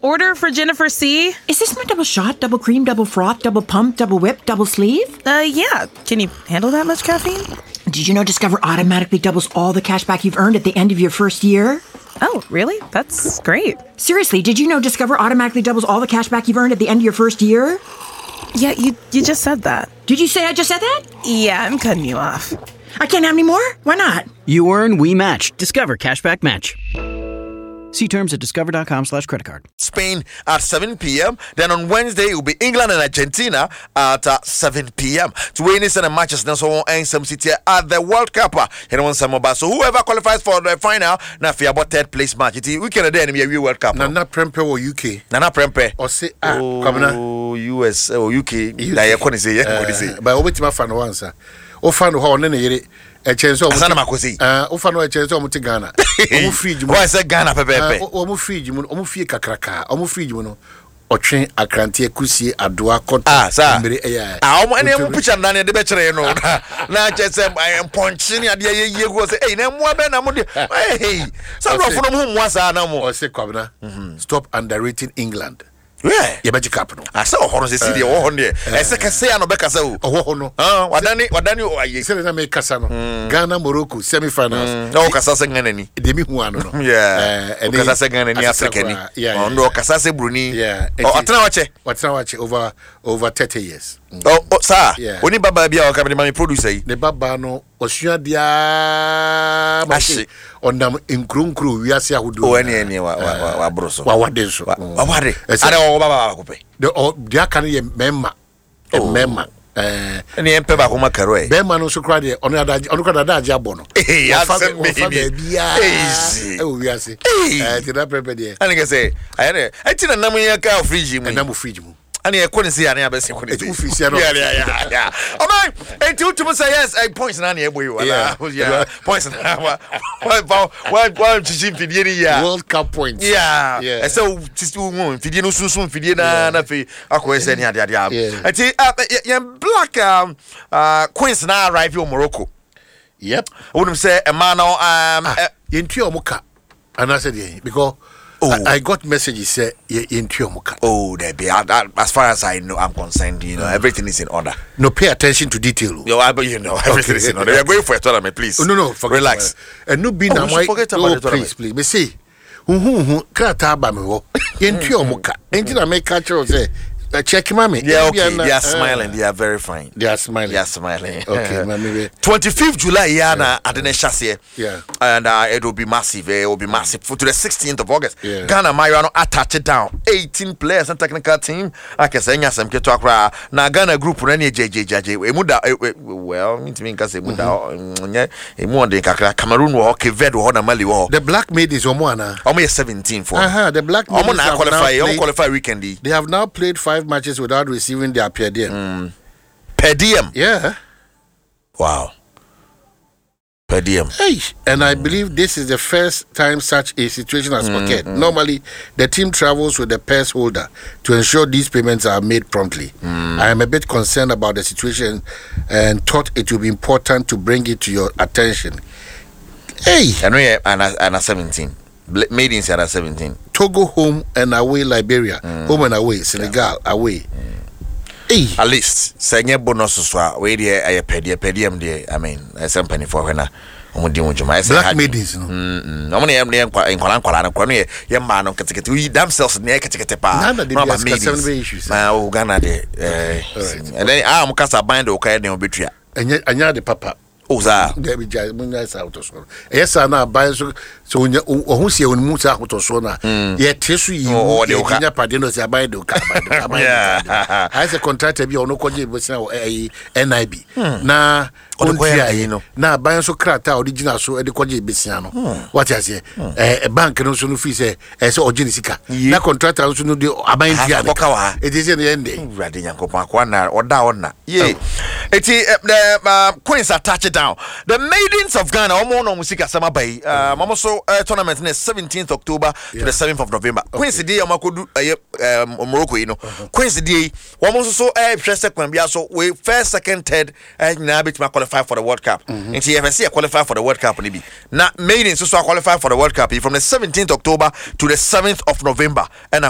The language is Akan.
Order for Jennifer C. Is this my double shot, double cream, double froth, double pump, double whip, double sleeve? Yeah. Can you handle that much caffeine? Did you know Discover automatically doubles all the cash back you've earned at the end of your first year? Oh, really? That's great. Seriously, did you know Discover automatically doubles all the cash back you've earned at the end of your first year? Yeah, you just said that. Did you say I just said that? Yeah, I'm cutting you off. I can't have any more? Why not? You earn, we match. Discover Cashback Match. See terms at discover.com/credit card. Spain at 7 p.m. Then on Wednesday, it will be England and Argentina at 7 p.m. To win this and the matches, now so on some city at the World Cup. You know, some so whoever qualifies for the final, now for about third place match. It weekend then we World Cup. Nana Prempe or UK. Nana Prempe. Or say ah, Kwabena. Oh, US oh UK. Na yɛ kɔ ne se yɛ kɔ ne se. But wobɛtumi afa no wansa. Wofa no hɔ ɔne ne yere ɛkyɛn sɛ Asa na mako sei. Wofa no ɛkyɛn sɛ ɔmo te Ghana. Ɔmo fridge mu. Wɔn sɛ Ghana pɛpɛɛpɛ. Ɔmo fridge mu, ɔmo fie kakraka. Ɔmo fridge mu no ɔtwe akranteɛ, kusie, adoa, kɔtɔ, Ah, saa. Mmere ɛyɛ. Ah, ɔmo ɛne ɛmo picture na ne de bɛkyerɛ no na kyerɛ sɛ mpɔnkye ne adeɛ yɛ yie gu hɔ sɛ ɛyi na mmoa bɛn na mo de ɛyi sɛ aborɔfo no mo ho mmoa saa na mo. Ɔsɛ Kwabena, stop underrating England. Yɛbɛgye cup no. Asɛ ɔhɔ no sɛ si deɛ ɔwɔ hɔ no deɛ ɛsɛ kɛse a na ɔbɛkasa o. Ɔwɔ hɔ no. Ah, wadane wadane ayɛ. Sɛdeɛ na mekasa no, Ghana Morocco semi finals. Na ɔkasa sɛ Ghana ni. Deɛ mehu ano no. Ɔkasa sɛ Ghana ni, Africa ni. Ɔno ɔkasa sɛ buroni. Ɔtena wakyɛ. Ɔtena wakyɛ over 30 years. Ɔ saa. Oni babaa bi a ɔka mede ma me producer yi. Ne babaa no ɔsua deɛ ma Ahye. ɔnam nkuro nkuro wiase ahodoɔ. O ɛne ɛne wa wa wa waboro so. Wawade nso. Wawade. Ada wɔwɔ babaa baako pɛ. Deɛ aka no yɛ mmarima. Mmarima. Ɛne yɛn pɛ baako ma karo ɛ. Bɛrima no nso koraa deɛ ɔno adagye, ɔno koraa adagye abɔ no. Ee, Wɔfa asɛm wɔfa bɛyi ni. baabiara Easy. ɛwɔ wiase. Ɛɛ nti na pɛpɛ deɛ. Ɛne kɛ sɛ ayɛ dɛ ɛti na nam yɛ ka fridge mu yi. Ɛnam fridge mu. Ɛne yɛkɔ ne se yɛ ane abɛsi kɔ ne se. Ɛti wofiri sia no. Yeah. Ɔman eti wotum sɛ yes points na ne ɛbɔ yi o. Yeah. Yeah. Points na wa wa wa wa wa kyikyi mfidie ni yia. World Cup points. Yeah. Ɛsɛ wo titi wo hu mfidie no sunsun mfidie na afei akɔ ɛsɛ ne ade ade a. Ɛti yɛn Black Queens na arrive wɔ Morocco. Wonim sɛ ɛmaa no Ah, yɛntua ɔmo ka anaasɛ deɛ, because Oh. I got messages sɛ yɛntua ɔmo ka. Oh, there be as far as I know, I'm concerned. Everything is in order. No, pay attention to detail o. Yo, I, but everything is in order. We are going for a tournament, please. Oh, no, forget Relax. Ɛno bi Oh, na we should forget about oh, the tournament. Please, please, me say huhuhu krataa ba me hɔ, yɛntua ɔmo ka, nti na meka kyerɛ wo sɛ check ma me. Yeah, Ebia okay. They are smiling. They are very fine. They are smiling. They are smiling. Okay, mami we 25th July, yeah, na adene shasie. And it will be massive. It will be massive. For to the 16th of August. Ghana Mayo no attach it down. 18 players and technical team. Akese nya sem keto akra. Na Ghana group no ne JJJJ. Emu da well, mintimi nka se emu da nye emu on de kakra. Cameroon wo hɔ, Cape Verde wo hɔ na Mali wo hɔ. The Black Maidens, ɔmo ana? Omo yɛ 17 for. The Black Omo Maidens na have qualify. now Omo played- qualify weekend yi. They have now played five matches without receiving their per diem. Per diem. Yeah. Wow. Per diem. Hey, and I believe this is the first time such a situation has occurred. Normally, the team travels with the purse holder to ensure these payments are made promptly. I am a bit concerned about the situation and thought it would be important to bring it to your attention. Hey, Ɛno yɛ ana 17. Maidens ana 17. Togo home and away, Liberia home and away, Senegal away. Hey, At least sɛ nyɛ bonus so a, wei deɛ ɛyɛ pɛdeɛ per diem deɛ, I mean, ɛsɛ mpanimfoɔ hwɛ na ɔmo di ho dwuma ɛsɛ Black ha. Maidens no. Ɔmo ne yɛ ne yɛ nkwalaa no nkwa no yɛ mmaa no nketekete oyi damsels ne yɛ ketekete paa. Ghana de Na bi ɔba asikasɛm no maidens. bɛyɛ issues. Na o Ghana de ɛdɛn a ɔmo kasa ban de ɔka yɛ den ɔbɛtua. Ɛnyɛ ade papa. O saa. Dabi, gya mo nya saa ahotɔsoɔ no. Ɛyɛ saa na aban nso sɛ onya ɔho si ɛwɔ ne mu saa ahotɔsoɔ no a yɛte so yi Ɔ- mu ɔde wo ka. yɛde nya padeɛ no sɛ aban de wo ka, aban de wo ka, aban de wo ka. Ayɛ sɛ contractor bi a ɔno kɔgye bosea wɔ ɛyi NIB na Ɔde kɔyɛ ɔntua ayi no. Na aban nso krataa a ɔde gyina so de kɔgye besia no, wate aseɛ, bank no nso no firi sɛ ɛɛ sɛ ɔgye ne sika na contractor nso no de aban tua ne Akɔka wɔ ha. ɛti sɛ no yɛn de. Awurade Nyankopɔn akoa na ɔda ɔna ye eti the Queens are touch it down. The Maidens of Ghana, ɔmo na ɔmo sika sɛm aba yi, ɔmo so tournament ne 17th October to the 7th of November. Queens deɛ, ɔmo akɔdu ɛyɛ Morocco yi no, Queens deɛ yi, wɔn nso so ɛhwɛ sɛ kwan bi so we first, second, third nyinaa bɛtumi qualify for the World Cup. Nti yɛfɛ sɛ yɛ qualify for the World Cup ne bi na Maidens nso so qualify for the World Cup yi from the 17th October to the 7th of November ɛna